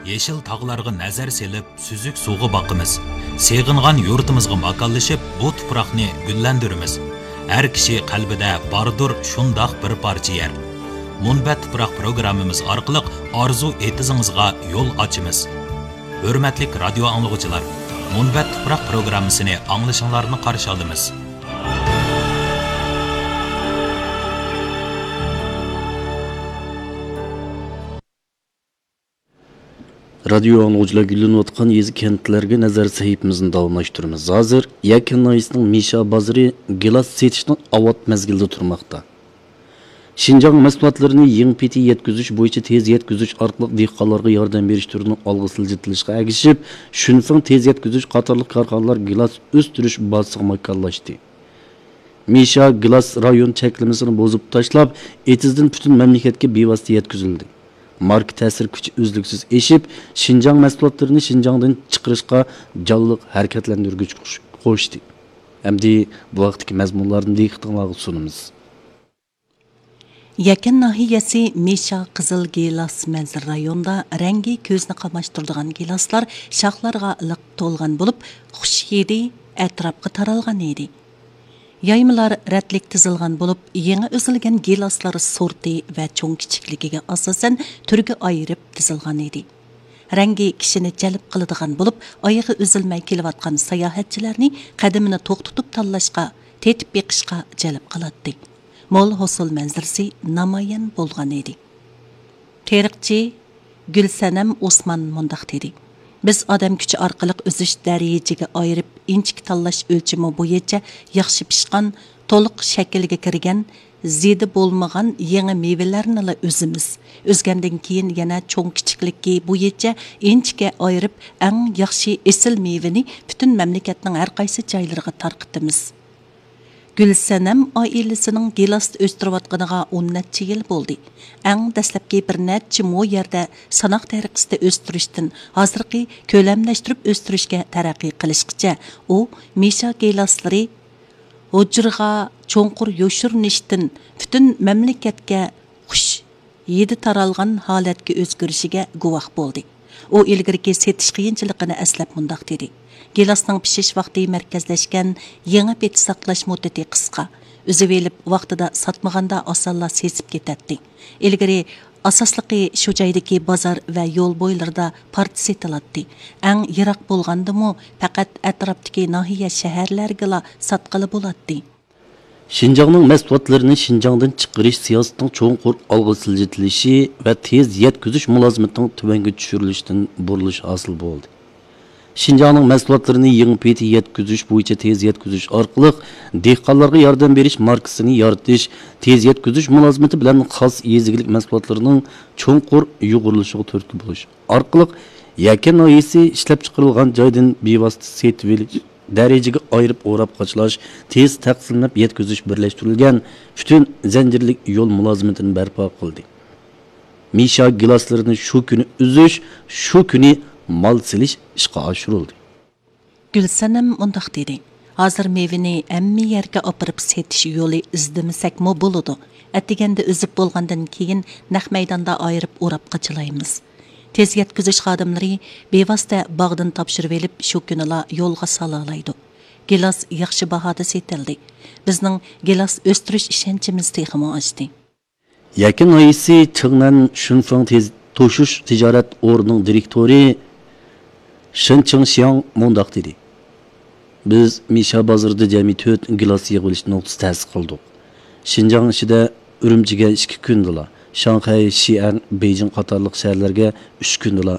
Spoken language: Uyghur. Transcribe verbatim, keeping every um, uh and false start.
يېشىل تاغلارغا نەزەر سېلىپ، سۈزۈك سۇغا باقىمىز. سېغىنغان يۇرتىمىزغا ماكانلىشىپ، بۇ تۇپراقنى گۈللەندۈرىمىز. ھەر كىشى قەلبىدە باردۇر شۇنداق بىر پارچە يەر. مۇنبەت تۇپراق پروگراممىمىز ئارقىلىق ئارزۇ ئېتىزىڭىزغا يول ئاچىمىز. ھۆرمەتلىك رادىيو ئاڭلىغۇچىلار، مۇنبەت تۇپراق پروگراممىسىنى ئاڭلىشىڭلارنى قارشى ئالىمىز. رادىيو ئاڭلىغۇچىلار، گۈللىنىۋاتقان يېزا، كەنتلەرگە نەزەر سەھىپىمىزنى داۋاملاشتۇرىمىز. ھازىر يەكەن ناھىيەسىنىڭ مىشا بازىرى گىلاس سېتىشنىڭ ئاۋات مەزگىلىدە تۇرماقتا. شىنجاڭ مەھسۇلاتلىرىنى يېڭى پېتى يەتكۈزۈش بويىچە تېز يەتكۈزۈش ئارقىلىق دېھقانلارغا ياردەم بېرىش تۈرىنىڭ ئالغا سىلجىتىلىشىغا ئەگىشىپ، شۈنفېڭ تېز يەتكۈزۈش قاتارلىق كارخانىلار گىلاس ئۆستۈرۈش بازىسىغا ماكانلاشتى. مىشا گىلاس رايون چەكلىمىسىنى بۇزۇپ تاشلاپ، ئېتىزدىن پۈتۈن مەملىكەتكە بىۋاسىتە يەتكۈزۈلدى. ماركا تەسىر كۈچى ئۈزلۈكسىز ئېشىپ، شىنجاڭ مەھسۇلاتلىرىنى شىنجاڭدىن چىقىرىشقا جانلىق ھەرىكەتلەندۈرگۈچ قوش-، قوشتى. ئەمدى بۇ ھەقتىكى مەزمۇنلارنى دىققىتىڭلارغا سۇنىمىز. يەكەن ناھىيەسى مىشا قىزىل گىلاس مەنزىرە رايونىدا رەڭگى كۆزنى قاماشتۇرىدىغان گىلاسلار شاخلارغا لىق تولغان بولۇپ، خۇش ھىدى ئەتراپقا تارالغان ئىدى. يايمىلار رەتلىك تىزىلغان بولۇپ، يېڭى ئۈزۈلگەن گىلاسلار سورتى ۋە چوڭ كىچىكلىكىگە ئاساسەن تۈرگە ئايرىپ تىزىلغان ئىدى. رەڭگى كىشىنى جەلپ قىلىدىغان بولۇپ، ئايىغى ئۈزۈلمەي كېلىۋاتقان ساياھەتچىلەرنى قەدىمىنى توختىتىپ تاللاشقا، تېتىپ بېقىشقا جەلپ قىلاتتى. مول ھوسۇل مەنزىرىسى نامايان بولغان ئىدى. تېرىقچى گۈلسەنەم ئوسمان مۇنداق دېدى: بىز ئادەم كۈچى ئارقىلىق ئۈزۈش دەرىجىگە ئايرىپ، ئىنچىكە تاللاش ئۆلچىمى بويىچە ياخشى پىشقان، تولۇق شەكىلگە كىرگەن، زىيىدى بولمىغان يېڭى مېۋىلەرنىلا ئۈزىمىز. ئۈزگەندىن كېيىن يەنە چوڭ كىچىكلىكى بويىچە ئىنچىكە ئايرىپ، ئەڭ ياخشى ئېسىل مېۋىنى پۈتۈن مەملىكەتنىڭ ھەر قايسى جايلىرىغا تارقىتىمىز. گۈلسەنەم ئائىلىسىنىڭ گىلاستا ئۆستۈرۈۋاتقىنىغا ئون نەچچە يىل بولدى. ئەڭ دەسلەپكى بىر نەچچە مو يەردە ساناق تەرىقىسىدە ئۆستۈرۈشتىن ھازىرقى كۆلەملەشتۈرۈپ ئۆستۈرۈشكە تەرەققىي قىلىشقىچە، ئۇ مىشا گىلاسلىرى ھۇجرىغا چوڭقۇر يوشۇرۇنۇشتىن پۈتۈن مەملىكەتكە خۇش ھىدى تارالغان ھالەتكە ئۆزگىرىشىگە گۇۋاھ بولدى. ئۇ ئىلگىرىكى سېتىش قىيىنچىلىقىنى ئەسلەپ مۇنداق دېدى: گىلاسنىڭ پىشىش ۋاقتى مەركەزلەشكەن، يېڭى پېتى ساقلاش مۇددىتى قىسقا. ئۈزۈۋېلىپ ۋاقتىدا ساتمىغاندا ئاسانلا سېسىپ كېتەتتى. ئىلگىرى ئاساسلىقى شۇ جايدىكى بازار ۋە يول بويلىرىدا پارچە سېتىلاتتى. ئەڭ يىراق بولغاندىمۇ پەقەت ئەتراپتىكى ناھىيە، شەھەرلەرگىلا ساتقىلى بولاتتى. شىنجاڭنىڭ مەھسۇلاتلىرىنى شىنجاڭدىن چىقىرىش سىياسىتىنىڭ چوڭقۇر ئالغا سىلجىتىلىشى ۋە تېز يەتكۈزۈش مۇلازىمىتىنىڭ تۆۋەنگە چۈشۈرۈلۈشىدىن بۇرۇلۇش ھاسىل بولدى. شىنجاڭنىڭ مەھسۇلاتلىرىنى يېڭى پېتى يەتكۈزۈش بويىچە تېز يەتكۈزۈش ئارقىلىق دېھقانلارغا ياردەم بېرىش ماركىسىنى يارىتىش، تېز يەتكۈزۈش مۇلازىمىتى بىلەن خاس يېزا ئىگىلىك مەھسۇلاتلىرىنىڭ چوڭقۇر يۇغۇرۇلۇشىغا تۈرتكە بولۇش ئارقىلىق، يەكەن ناھىيەسى ئىشلەپچىقىرىلغان جايدىن بىۋاسىتە سېتىۋېلىش دەرىجىگە ئايرىپ ئوراپ قاچىلاش، تېز تەقسىملەپ يەتكۈزۈش بىرلەشتۈرۈلگەن پۈتۈن زەنجىرلىك يول مۇلازىمىتىنى بەرپا قىلدى. مىشا گىلاسلىرىنى شۇ كۈنى ئۈزۈش، شۇ كۈنى مال سېلىش ئىشقا ئاشۇرۇلدى. گۈلسەنەم مۇنداق دېدى: ھازىر مېۋىنى ھەممە يەرگە ئاپىرىپ سېتىش يولى ئىزدىمىسەكمۇ بولىدۇ. ئەتىگەندە ئۈزۈپ بولغاندىن كېيىن نەق مەيداندا ئايرىپ ئوراپ قاچىلايمىز. تېز يەتكۈزۈش خادىملىرى بىۋاسىتە باغدىن تاپشۇرۇۋېلىپ، شۇ كۈنىلا يولغا سالالايدۇ. گىلاس ياخشى باھادا سېتىلدى. بىزنىڭ گىلاس ئۆستۈرۈش ئىشەنچىمىز تېخىمۇ ئاشتى. يەكەن ناھىيەسى چىڭنەن شۈنفېڭ تېز توشۇش تىجارەت ئورنىنىڭ دىرېكتورى شېن چىڭشياڭ مۇنداق دېدى: بىز مىشا بازىرىدا جەمئىي تۆت گىلاس يىغىۋېلىش نۇقتىسى تەسىس قىلدۇق. شىنجاڭ ئىچىدە ئۈرۈمچىگە ئىككى كۈندىلا، شاڭخەي، شىئەن، بېيجىڭ قاتارلىق شەھەرلەرگە ئۈچ كۈندىلا